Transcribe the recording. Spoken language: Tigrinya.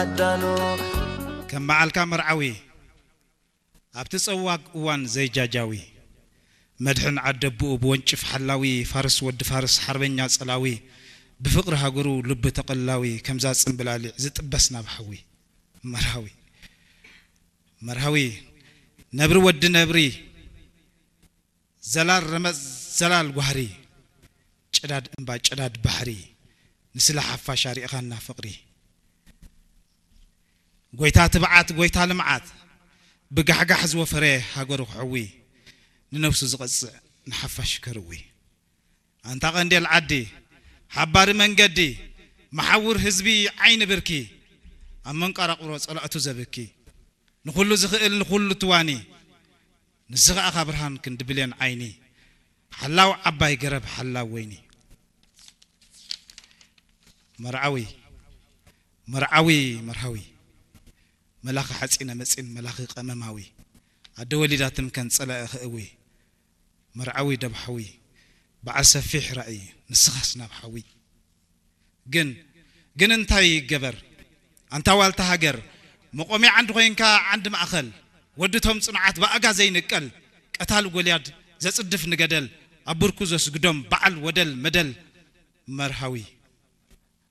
ዓዳሉ ከም በዓልካ መርዓዊ ኣብቲ ጸዋግ እዋን ዘይጃጃዊ መድሕን ዓደብኡ ብወንጭፍ ሓላዊ ፋርስ ወዲ ፋርስ ሓርበኛ ጸላዊ ብፍቕሪ ሃገሩ ልቢ ተቐላዊ ከምዛ ጽምብላሊዕ ዝጥበስ ናብ ሓዊ መርሃዊ መርሃዊ ነብሪ ወዲ ነብሪ ዘላል ረመጽ ዘላል ጓህሪ ጭዳድ እምባ ጭዳድ ባሕሪ ንስለ ሓፋሽ ኣሪእኻና ፍቕሪ ጎይታ ትብዓት ጎይታ ልምዓት ብጋሕጋሕ ዝወፈረ ሃገሩ ክሕዊ ንነብሱ ዝቐጽዕ ንሓፋሽ ከርዊ ኣንታ ቀንዴል ዓዲ ሓባሪ መንገዲ መሓውር ህዝቢ ዓይኒ ብርኪ ኣብ መንቀራቕሮ ጸላእቱ ዘብኪ ንኹሉ ዝኽእል ንኹሉ ትዋኒ ንስኻ ኢኻ ብርሃን ክንዲ ብሌን ዓይኒ ሓላው ዓባይ ገረብ ሓላው ወይኒ መርዓዊ መርዓዊ መርሃዊ መላኺ ሓፂነ መፂን መላኺ ቀመማዊ ኣደ ወሊዳ ትምከን ፀላኢ ክእዊ መርዓዊ ደብሓዊ በዓል ሰፊሕ ራእይ ንስኻስ ናብ ሓዊ ግን ግን እንታይ ይገበር ኣንታ ዋልታ ሃገር መቆሚያ ዓንዲ ኮይንካ ዓንዲ ማእኸል ወድቶም ፅኑዓት ብኣጋ ዘይንቀል ቀታል ጎልያድ ዘፅድፍ ንገደል ኣብ ብርኩ ዘስግዶም በዓል ወደል መደል መርሃዊ